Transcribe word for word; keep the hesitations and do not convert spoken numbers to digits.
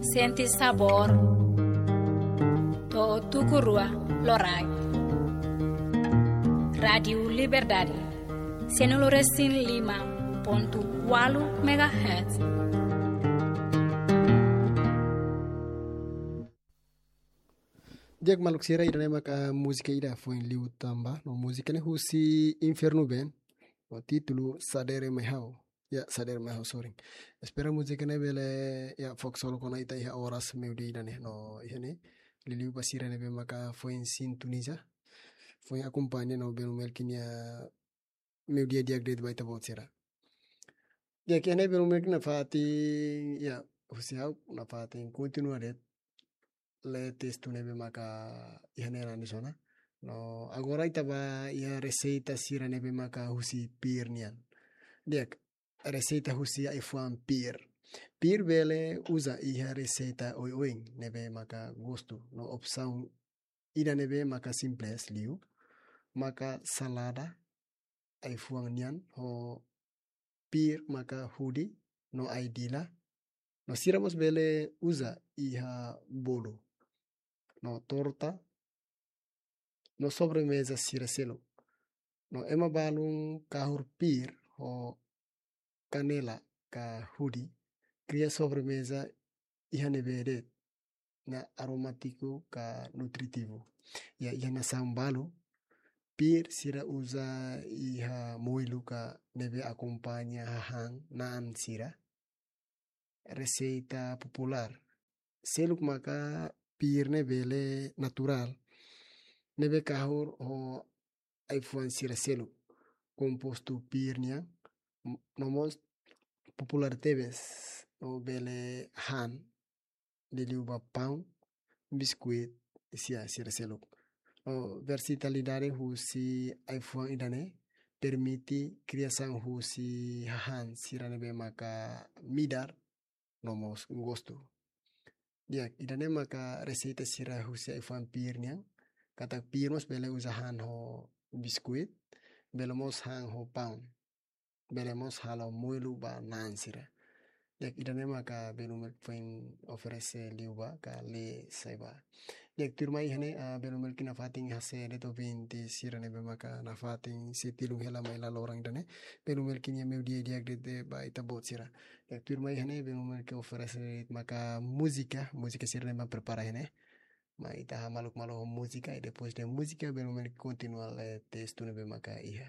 Sente sabór. To'o tuku rua loraik. Rádiu Liberdade, cento e cinco e cinco ponto oito megahertz. Di'ak maluk sira, ida-ne'e maka múzika ida foin liu tanba, no múzika ne'e husi Inferno Band, no títulu Sadere Mai Ha'u. Ya, Sadere Mai Ha'u, sorry. Espera múzika ne'e bele, ya, fokus halo kona ita iha oras meiudia ida-ne'e, no iha ne'e. Liuliu ba sira ne'ebé maka foin sintoniza, foin akompaña no Belu Melki nia meiudia di'ak de'it ba ita-boot sira. Di'ak, iha ne'e Belu Melki nafatin, ya, husi ha'u nafatin kontinua de'it lee testu ne'ebé maka iha ne'e nanis ona. No agora ita bá iha reseita sira ne'ebé maka husi pir nian. Di'ak, reseita husi ai-fuan pir. Pir bele uza iha reseita oioin ne'ebé maka gostu. No opsaun ida ne'ebé maka simples liu, maka salada ai-fuan nian, ho pir maka hudi no ai-dila. No sira mós bele uza iha bolu, no torta, no sobremeza sira seluk. No ema balun kahur pir ho kanela ka hudi, kria sobremeza iha ne'ebé de'it, no aromátiku ka nutritivu. Ya, iha nasaun balu, pir sira uza iha moilu ka ne'ebé akompaña hahán na'an sira. Reseita populár seluk maka pir ne'e bele naturál, ne'ebé kahur ho ai-fuan sira seluk, kompostu pir nian, m-, no mós populár tebes, no bele han, liuliu ba paun, biskuit, sira, sira seluk. No versatilidade husi ai-fuan ida-ne'e permite kriasaun husi hahán sira ne'ebé maka midar, no mós gostu. Di'ak, ida-ne'e maka reseita sira husi ai-fuan pir nian, katak pir mós bele uza han ho biskuit, bele mós han ho paun, bele mós halo moilu ba na'an sira. Di'ak, ida-ne'e maka Belu Melki foin oferese liu ba ka lee sai ba. Di'ak, tuirmai iha ne'e, ah, Belu Melki nafatin hase'e de'it ouvinte sira ne'ebé maka nafatin sei tilun hela mai laloran ida-ne'e. Belu Melki nia meiudia di'ak de'it ba ita-boot sira. Di'ak, tuirmai iha ne'e Belu Melki oferese de'it maka múzika, múzika sira ne'ebé prepara iha ne'e. Mai ita hamaluk malu ho múzika, i depois de múzika, Belu Melki kontinua lee testu ne'ebé maka iha.